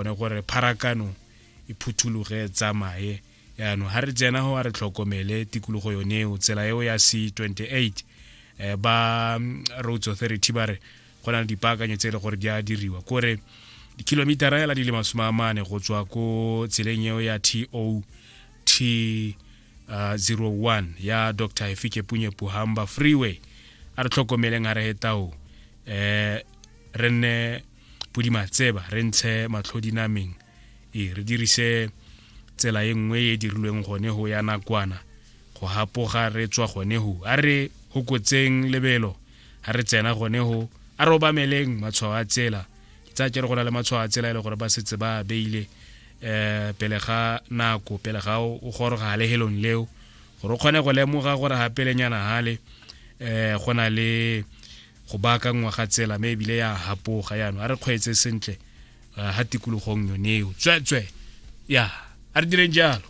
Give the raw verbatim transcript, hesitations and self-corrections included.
Gone gore pharakano e phuthologe, tsamaye. Yaanong ga re tsena go, a re tlhokomele tikologo yone eo, tsela eo ya C twenty-eight. eh, ba mm, Roads Authority ba re go na le dipaakanyo tse e le gore di a diriwa, kore dikilomitara hela di le masome a mane go tswa ko tseleng eo ya T O T uh, zero one ya Doctor Hifikepunye Pohamba Freeway. A re tlhokomeleng ga re hetao, eh re nne podimatseba, re ntshe matlho dinameng, e re dirise tsela e nngwe e dirilweng gone go ya nakwana go hapoga re tswa gone go. A re hokotseng lebelo ga re tsena gone go, a re obameleng matshwao a tsela. Ke tsaya ke re go na le matshwao a tsela e le gore ba setse ba beile um pele ga nako, pele ga o goroga lehelong leo, gore o kgone go lemoga gore ga pelenyana gale um go na le go baakangwa ga tsela, mme ebile ya hapoga. Yaanong a re kgweetse sentle ga tikologong yone eo. Tsweetswe ya, a re direng jalo.